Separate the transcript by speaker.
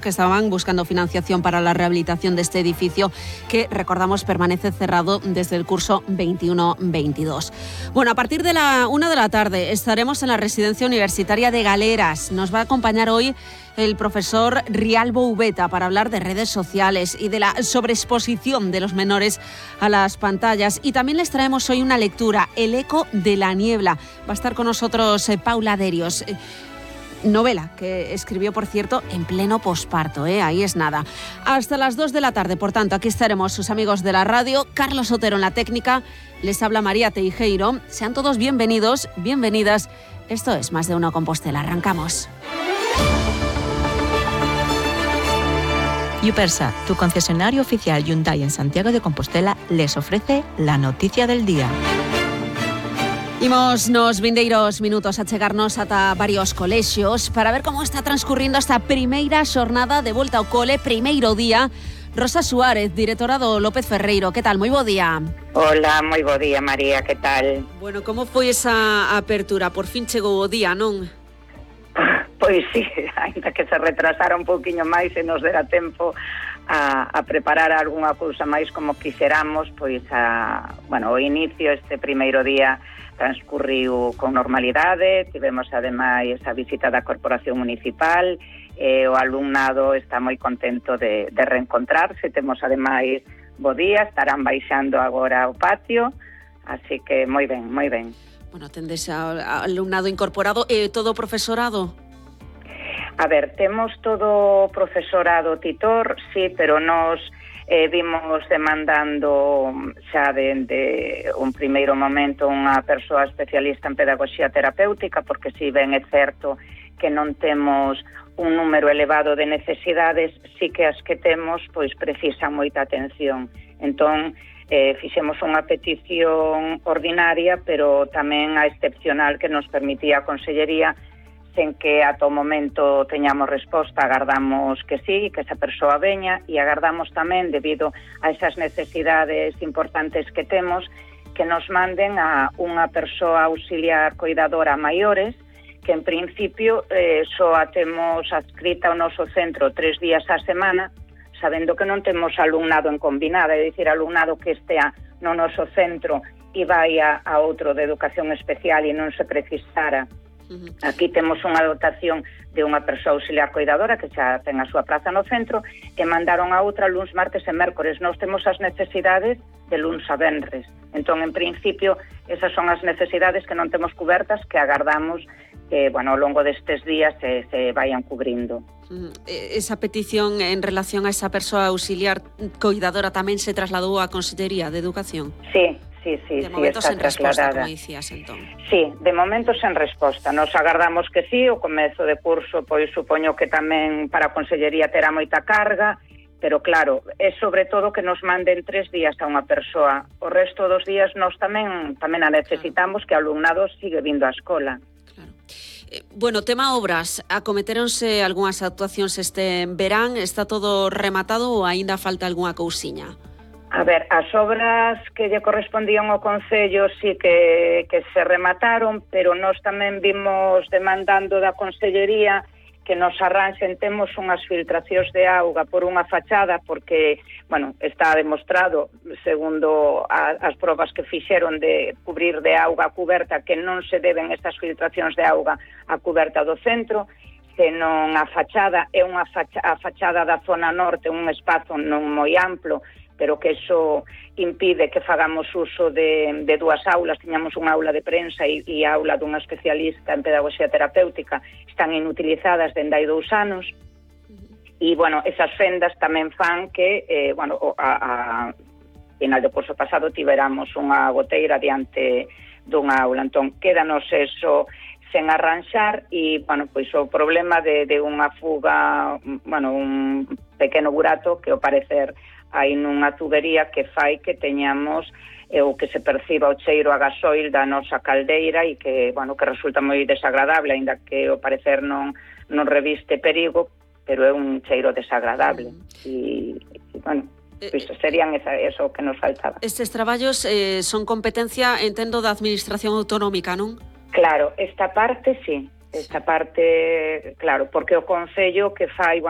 Speaker 1: que estaban buscando financiación para la rehabilitación de este edificio que, recordamos, permanece cerrado desde el curso 21-22. Bueno, a partir de la 1 de la tarde estaremos en la Residencia Universitaria de Galeras. Nos va a acompañar hoy el profesor Rialbo Ubeta para hablar de redes sociales y de la sobreexposición de los menores a las pantallas. Y también les traemos hoy una lectura, El eco de la niebla. Va a estar con nosotros Paula Derios. Novela que escribió, por cierto, en pleno posparto, ahí es nada. Hasta las 2 de la tarde, por tanto, aquí estaremos sus amigos de la radio. Carlos Otero en la técnica, les habla María Teijeiro. Sean todos bienvenidos, bienvenidas. Esto es Más de Uno Compostela. Arrancamos.
Speaker 2: Yupersa, tu concesionario oficial Hyundai en Santiago de Compostela, les ofrece la noticia del día.
Speaker 1: Imos nos vindeiros minutos a chegarnos ata varios colexios para ver como está transcurrindo esta primeira xornada de volta ao cole, primeiro día. Rosa Suárez, directora do López Ferreiro, que tal? Moi bo día.
Speaker 3: Hola, moi bo día, María, que tal?
Speaker 1: Bueno, como foi esa apertura? Por fin chegou o día, non?
Speaker 3: Pois sí, ainda que se retrasara un pouquiño máis e nos dera tempo a preparar algunha cousa máis como quixeramos, pois o inicio, este primeiro día transcurriu con normalidade. Tivemos ademais a visita da Corporación Municipal, o alumnado está moi contento de reencontrarse. Temos ademais bo día, estarán baixando agora ao patio, así que moi ben, moi ben.
Speaker 1: Bueno, tendes alumnado incorporado e todo o profesorado?
Speaker 3: A ver, temos todo profesorado titor, sí, pero nos vimos demandando xa dende un primeiro momento unha persoa especialista en pedagogía terapéutica, porque si ben é certo que non temos un número elevado de necesidades, sí que as que temos pois precisan moita atención. Entón, fixemos unha petición ordinaria, pero tamén a excepcional que nos permitía a Consellería, sen que ata o momento teñamos resposta. Agardamos que sí, que esa persoa veña, e agardamos tamén, debido a esas necesidades importantes que temos, que nos manden a unha persoa auxiliar coidadora a maiores, que en principio só a temos adscrita ao noso centro 3 días á semana, sabendo que non temos alumnado en combinada, é dicir, alumnado que estea no noso centro e vai a outro de educación especial e non se precisara. Aquí temos unha dotación de unha persoa auxiliar coidadora que xa ten a súa praza no centro, e mandaron a outra luns, martes e mércores. Nós temos as necesidades de luns a venres. Entón, en principio, esas son as necesidades que non temos cubertas, que agardamos que, ao longo destes días se vayan cubrindo.
Speaker 1: Esa petición en relación a esa persoa auxiliar coidadora tamén se trasladou á Consellería de Educación?
Speaker 3: Sí,
Speaker 1: de momento sen resposta, como dicías, entón.
Speaker 3: Sí, de momento sen resposta. Nos agardamos que sí, o comezo de curso, pois supoño que tamén para a Consellería terá moita carga, pero claro, é sobre todo que nos manden 3 días a unha persoa. O resto dos días nós tamén a necesitamos, que o alumnado sigue vindo á escola.
Speaker 1: Claro. Bueno, tema obras, acometeronse algunhas actuacións este verán, está todo rematado ou aínda falta algunha cousiña?
Speaker 3: A ver, as obras que lle correspondían ao Concello sí que se remataron, pero nós tamén vimos demandando da Consellería que nos arranxen. Temos unhas filtracións de auga por unha fachada, porque, está demostrado, segundo as probas que fixeron de cubrir de auga a cuberta, que non se deben estas filtracións de auga a cuberta do centro, senón a fachada é a fachada da zona norte, un espazo non moi amplo, pero que eso impide que fagamos uso de 2 aulas. Tiñamos unha aula de prensa e a aula dunha especialista en pedagogía terapéutica, están inutilizadas dende hai 2 anos, e, esas fendas tamén fan que, a final do curso pasado tiveramos unha goteira diante dunha aula. Entón, quédanos eso sen arranxar e, o problema de unha fuga, un pequeno burato que, ao parecer, hai nunha tubería que fai que teñamos o que se perciba o cheiro a gasoil da nosa caldeira e que, que resulta moi desagradable, aínda que ao parecer non reviste perigo, pero é un cheiro desagradable. Pois serían eso que nos faltaba.
Speaker 1: Estes traballos son competencia, entendo, da Administración Autonómica, non?
Speaker 3: Claro, esta parte sí. Esta parte, claro, porque o Concello que fai,